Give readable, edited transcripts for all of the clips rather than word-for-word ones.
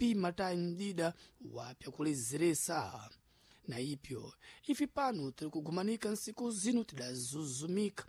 kupima tayi mdida wa pyakulezeresa. Na ipyo ife pano tiri kugumanika nsiku zino tidazuzumika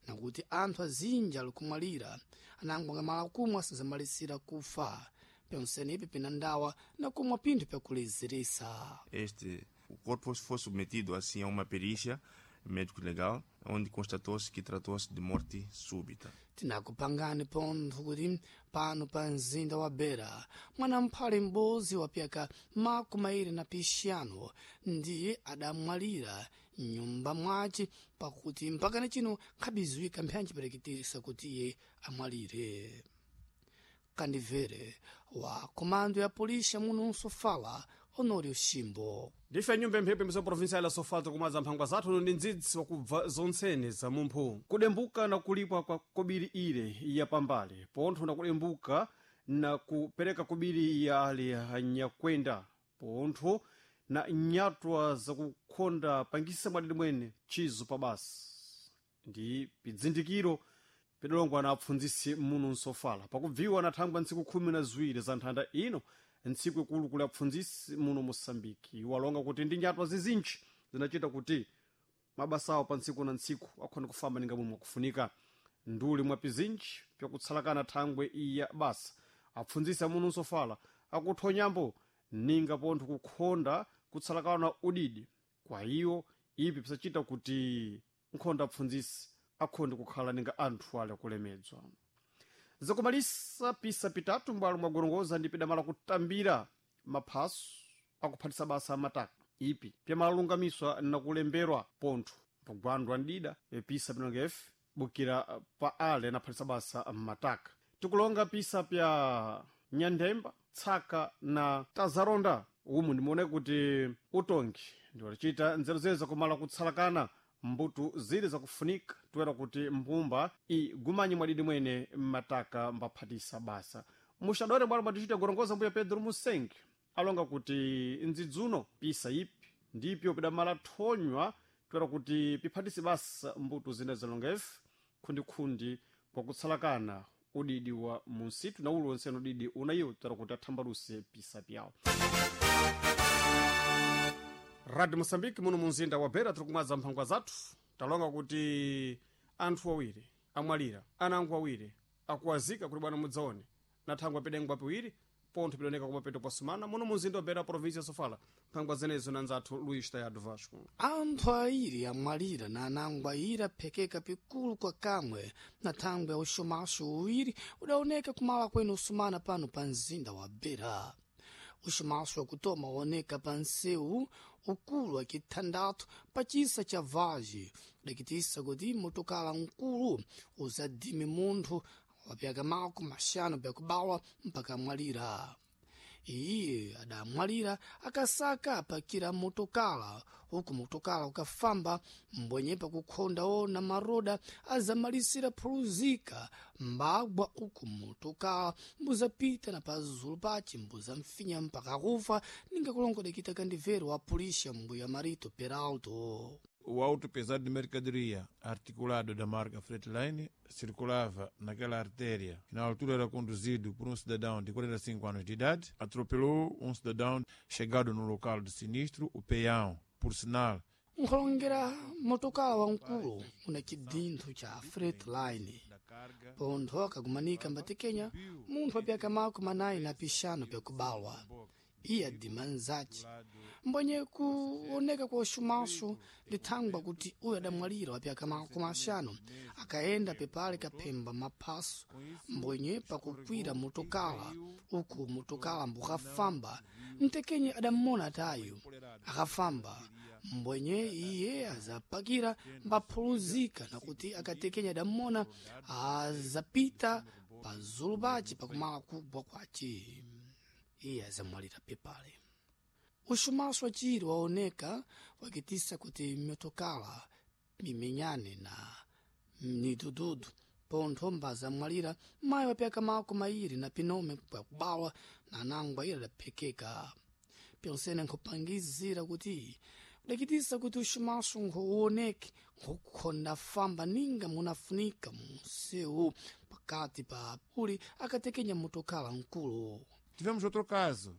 nakuti anthu azinji ali kumwalira anango angamala kumwa asazamalisira kufa. Pyonsene ipi pina ndawa na kumwa pinthu pyakulezeresa. Este, o corpo foi submetido assim a uma perícia médico-legal, onde constatou-se que tratou-se de morte súbita. Tinakupangani pontho kuti pano pa mzinda wa Beira mwana mphale m'bodzi wa pyaka 25 ndiye adamwalira mnyumba mwace, pakuti mpakana chino nkhabiziwika mphanji pereketesa kuti iye amwalire. Kandivere wa komando ya polícia muno Sofala, Honório Chimbo. Ndife nyumba imphepo imso provincial ya Sofala, tikumadza mphangwa zathu ndi ndzidzi wakubva zontsene za mumphu. Kudembuka na kulipwa kwa kobiri ile ya pambale pontho na kudembuka na kupereka kobiri ya ali anyakwenda pontho na nyatwa zakukhonda pangisa mwadidi mwene chizo pa basi ndi pidzindikiro pidalongwa na apfundzisi muno Nsofala pakubviwa na thangwa ntsiku 12 za nthanda ino, ntsiku ikulu kuli apfundzisi muno Moçambike. Walonga kuti ndi nyatwa zizinji zinachita kuti mabasa awo pa ntsiku na ntsiku akhona kufamba ninga momwe akufunika. Nduli mwa pizinji pyakutsalakana thangwe iya basa, apfundzisi amuno Nsofala akuthonyambo ninga pontho kukhonda kutsalakana udidi kwa iyo ipi pisachita kuti nkhonda apfundzisi akhonde kukhala ninga anthu ali akulemedzwa. Zakumalisa pisa pitatu mbwalo mwagorongoza ndi pidamala kutambira maphaso akuphatisa basa amataka ipi pyamalungamiswa nakulemberwa pontho pagwandwa ndida pisa pinonga f bukira pa ale anaphatisa basa mataka. Tikulonga pisa pya Nyandemba, Tsaka na Tazaronda. Umu ndimuone kuti utongi ndiwalichita nzeru zene zakumala kutsalakana mbuto zili zakufunika toera kuti mbumba igumanye mwadidi mwene mataka mbaphatisa basa. Muxadore bwalo bwatichita gorongoza, mbuya Pedro Musengi alonga kuti ndzidzuno pisa ipi ndipyo pidamala thonywa toera kuti piphatise basa mbuto zina zalonga ife khundikhundi kwakutsalakana udidi wa munsitu na uliwonse udidi unayiwo toera kuti athambaluse pisa pyawo. Radio Moçambique muno munzinda wa Beira, tiri kumwadza mphangwa zathu. Talonga kuti anthu awiri amwalira, anango awiri akuwazika kuti bwana mudzaone na thangwa pedengwa piwiri pontho pidoneka kumapeto pa sumana muno munzinda wa Beira, província ya Sofala. Mphangwa zenezo na nzathu Luís Tayado Vasco. Anthu awiri amwalira na anango ayiri aphekeka pikulu kwa kamwe na thangwe ya uxumaxo uwiri udaoneka kumala kwene usumana pano pa mzinda wa Beira. Uxumaxo wakutoma waoneka pa nsewu ukulu wa kithandathu pa chisa cha Vage, udakitisa kuti motokala mkulu uzadime munthu wa pyaka 50 pyakubalwa mpaka amwalira. Iye adamwalira akasaka apakira motokala uku motokala ukafamba mbwenye pakukhonda ona maroda azamalisira phuluzika mbagwa uku motokala mbuzapita na pazulu pace mbuzamfinya mpaka kufa, ninga kulongodekita kandivero wa pulisha mbuya Marito Peralto. O auto pesado de mercadoria, articulado da marca Freightline, circulava naquela artéria, que na altura era conduzido por um cidadão de 45 anos de idade, atropelou um cidadão chegado no local do sinistro, o peão, por sinal. Nkholongera motokala wamkulu una chidinthu cha Freightline pontho akagumanika mbatekenya munthu wa pyaka 45 pyakubalwa. Iye adima nzace mbwenye kuoneka kwa uxumaxo lithangwa kuti uyu adamwalira wa pyaka 50 akayenda pepale kaphemba maphaso mbwenye pakukwira motokala uku motokala mbukafamba mtekenye adammona atayo akafamba mbwenye iye azapakira mbaphuluzika nakuti akatekenya adammona azapita pazulu pace pakumala kugwa kwace, iye azamwalira pepale. Uxumaxo waciri waoneka wakitisa kuti mitokala mimenyane na midududu pontho mbazamwalira mayi wa pyaka 29 pyakubalwa na anango ayiri adaphekeka. Pyonsene nkhupangizira kuti udakitisa kuti uxumaxo nkhuwoneke nkukhonda famba ninga munafunika munsewu pakati pa uli akatekenya motokala mkulu. Tivemos outro caso.